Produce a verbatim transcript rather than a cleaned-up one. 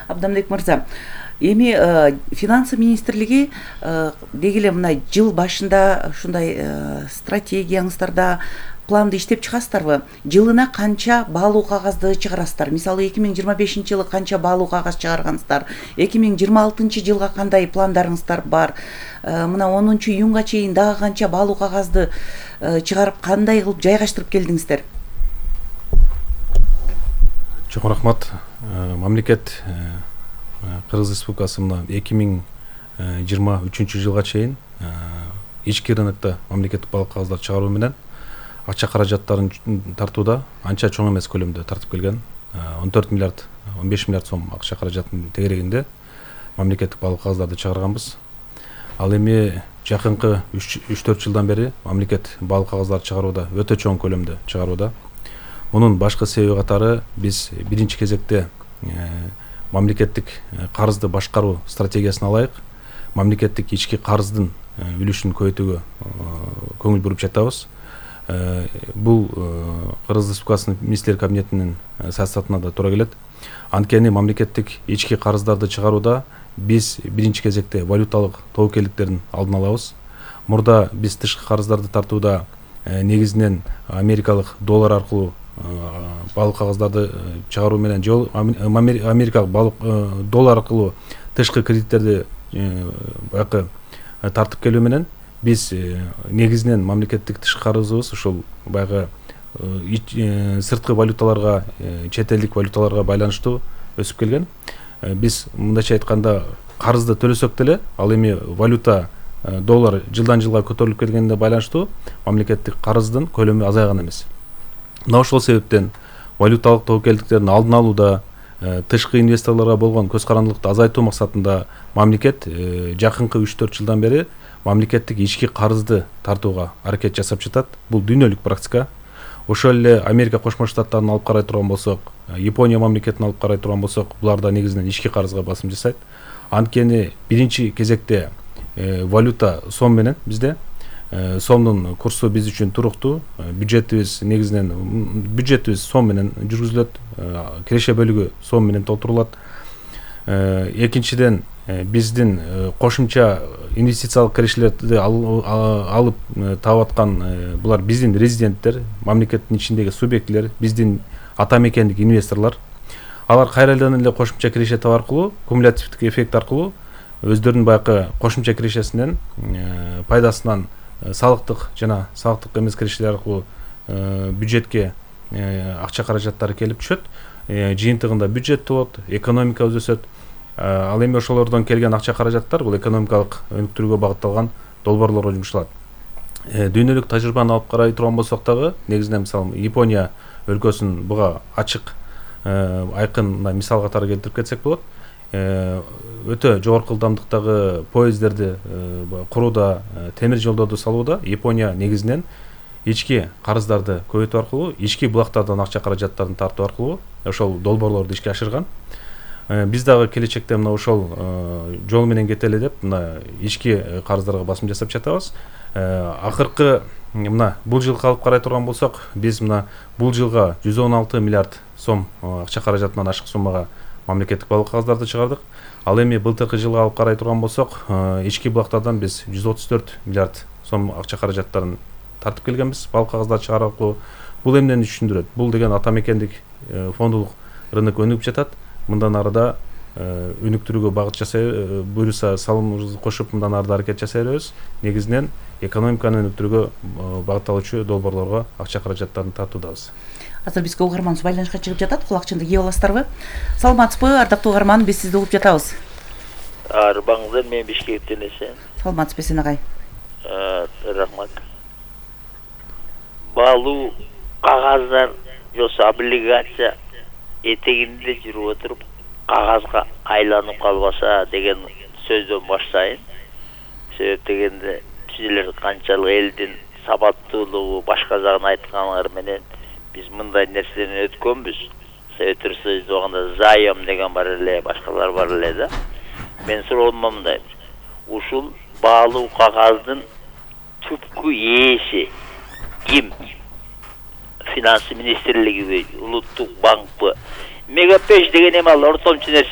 Абдамбек мырза, эми финансы министрлиги деги эле мына жыл башында ушундай стратегияңыздарда планды иштеп чыгасыздарбы? Жылына канча баалуу кагазды чыгарасыздар? Мисалы эки миң жыйырма бешинчи жылы канча баалуу кагаз чыгаргансыздар? эки миң жыйырма алтынчы жылга кандай пландарыңыздар бар? Мына онунчу июнга чейин дагы канча баалуу кагазды чыгарып, кандай кылып жайгаштырып келдиңиздер? Чоң рахмат. Мамлекет Кыргыз Республикасы мына эки миң жыйырма үчүнчү жылга чейин ички рынокто мамлекеттик баалуу кагаздар чыгаруу менен акча каражаттарын тартууда анча чоң эмес көлөмдө тартып келген. он төрт миллиард он беш миллиард сом акча каражатынын тегерегинде мамлекеттик баалуу кагаздарды чыгарганбыз. Ал эми жакынкы үч төрт жылдан бери мамлекет баалуу кагаздарды чыгарууда өтө чоң көлөмдө чыгарууда. Мунун башкы себеби катары биз биринчи кезекте мамлекеттик карызды башкаруу стратегиясына ылайык мамлекеттик ички карыздын үлүшүн көбөйтүүгө көңүл буруп жатабыз. Бул Кыргыз Республикасынын министрлер кабинетинин саясатына да туура келет. Анткени мамлекеттик ички карыздарды чыгарууда биз биринчи кезекте валюталык тобокелдиктердин алдын алабыз. Мурда биз тышкы карыздарды тартууда негизинен америкалык доллар аркылуу баалуу кагаздарды чыгаруу менен же америкалык баалуу доллар аркылуу тышкы кредиттерди баягы тартып келүү менен биз негизинен мамлекеттик тышкы карызыбыз ушул баягы сырткы валюталарга, чет элдик валюталарга байланыштуу өсүп келген. Биз мындайча айтканда карызды төлөсөк деле, ал эми валюта доллар жылдан жылга көтөрүлүп келгенине байланыштуу мамлекеттик карыздын көлөмү азайган эмес. Мына ошол себептен валюталык тобокелдиктердин алдын алууда, тышкы инвесторлорго болгон көз карандылыкты азайтуу максатында мамлекет жакынкы үч төрт жылдан бери мамлекеттик ички карызды тартууга аракет жасап жатат. Бул дүйнөлүк практика. Ошол эле Америка Кошмо Штаттарын алып карай турган болсок, Япония мамлекетин алып карай турган болсок, булар да негизинен ички карызга басым жасайт. Анткени биринчи кезекте валюта сом менен бизде сомдун курсу биз үчүн туруктуу. Бюджетибиз негизинен бюджетибиз сом менен жүргүзүлөт, киреше бөлүгү сом менен толтурулат. Экинчиден биздин кошумча инвестициялык кирешелерди алып таап аткан булар биздин резиденттер, мамлекеттин ичиндеги субъектилер, биздин ата мекендик инвесторлор. Алар кайрадан эле кошумча киреше таап аркылуу, кумулятивдик эффект аркылуу өздөрүнүн баягы кошумча кирешесинен, пайдасынан салыктык жана салыктык эмес кирешелер аркылуу бюджетке акча каражаттары келип түшөт. Жыйынтыгында бюджет болот, экономикабыз өсөт. Ал эми ошолордон келген акча каражаттар бул экономикалык өнүктүрүүгө багытталган долбоорлорго жумшалат. Дүйнөлүк тажрыйбаны алып карай турган болсок дагы, негизинен мисалы Япония өлкөсүн буга ачык, айкын мисал катары келтирип кетсек болот. Өтө жогорку ылдамдыктагы поездерди курууда, темир жолдорду салууда Япония негизинен ички карыздарды көбөйтүү аркылуу, ички булактардан акча каражаттарын тартуу аркылуу ошол долбоорлорду ишке ашырган. Биз дагы келечекте мына ошол жол менен кетели деп мына ички карыздарга басым жасап жатабыз. Акыркы мына бул жылга алып карай турган болсок, биз мына бул жылга жүз он алты миллиард сом акча каражатынан ашык суммага мамлекеттик баалуу кагаздарды чыгардык. Ал эми былтыркы жылга алып карай турган болсок, ички булактардан биз жүз отуз төрт миллиард сом акча каражаттарын тартып келгенбиз баалуу кагаздарды чыгаруу аркылуу. Бул эмнени түшүндүрөт? Бул деген ата мекендик фондулук рынок өнүгүп жатат. Мындан арыда өнүктүрүүгө багыт жасай, буюрса салымыбызды кошуп мындан арыда аракет жасай беребиз. Негизинен экономиканы өнүктүрүүгө багытталуучу долбоорлорго акча каражаттарын тартуудабыз. Азыр бизге угарманыбыз байланышка чыгып жатат. Кулакчынды кийип аласыздарбы? Саламатсызбы, ардактуу угарман? Биз сизди угуп жатабыз. Арбаңыздар, мен Бишкектен эсен. Саламатсызбы Эсен агай? Рахмат. Баалуу кагаздар жосо облигация этегинде жүрүп отуруп кагазга айланып калбаса деген сөздөн баштайын. Себеп дегенде силер канчалык элдин сабаттуулугу башка жагын айтканыңар менен биз мындай нерседен өткөнбүз. Советтер Союзу убагында заем деген бар эле, башкалар бар эле да. Мен суроом мындай. Ушул баалуу кагаздын түпкү ээси ким? Финансы министрлигиби, улуттук банкпы? Мегапеш деген эми ал ортомчу нерсе